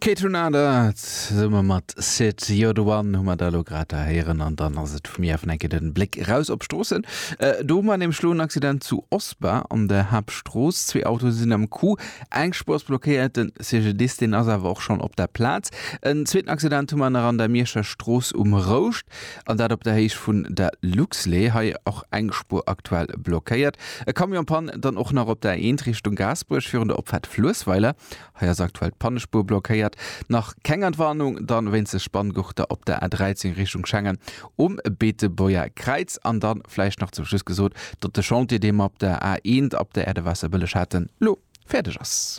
Kaytranada zesumme mat Syd You're the One hu mer da elo grad da héieren an dann ass et vu mir awer enke den Bléck eraus op d'Stroossen. Do hu mer nämlech elo en Accident zu Osper an der Haaptstrooss. Zwee Autoe sinn am Coup, eng Spuer ass blockéiert, den CGDIS deen ass awer och schonn op der Plaz. En zweeten Accident hu mer nach an der Mierscher Strooss um Rouscht an dat op der Héicht vun der Luxlait. Hei och eng Spuer aktuell blockéiert. E Camion en panne dann och nach op der A1 Richtung Gaasperech virun der Opfaart Fluessweiler. Hei ass aktuell d'Pannespuer blockéiert. Nach keng Entwarnung dann wéinst de Spanngurter op der A13 Richtung Schengen um Beetebuerger Kräiz. An dann vläicht nach zum Schluss gesot, datt de Chantier dee mer op der A1 ab der Air de Waasserbëlleg haten, lo fäerdeg ass.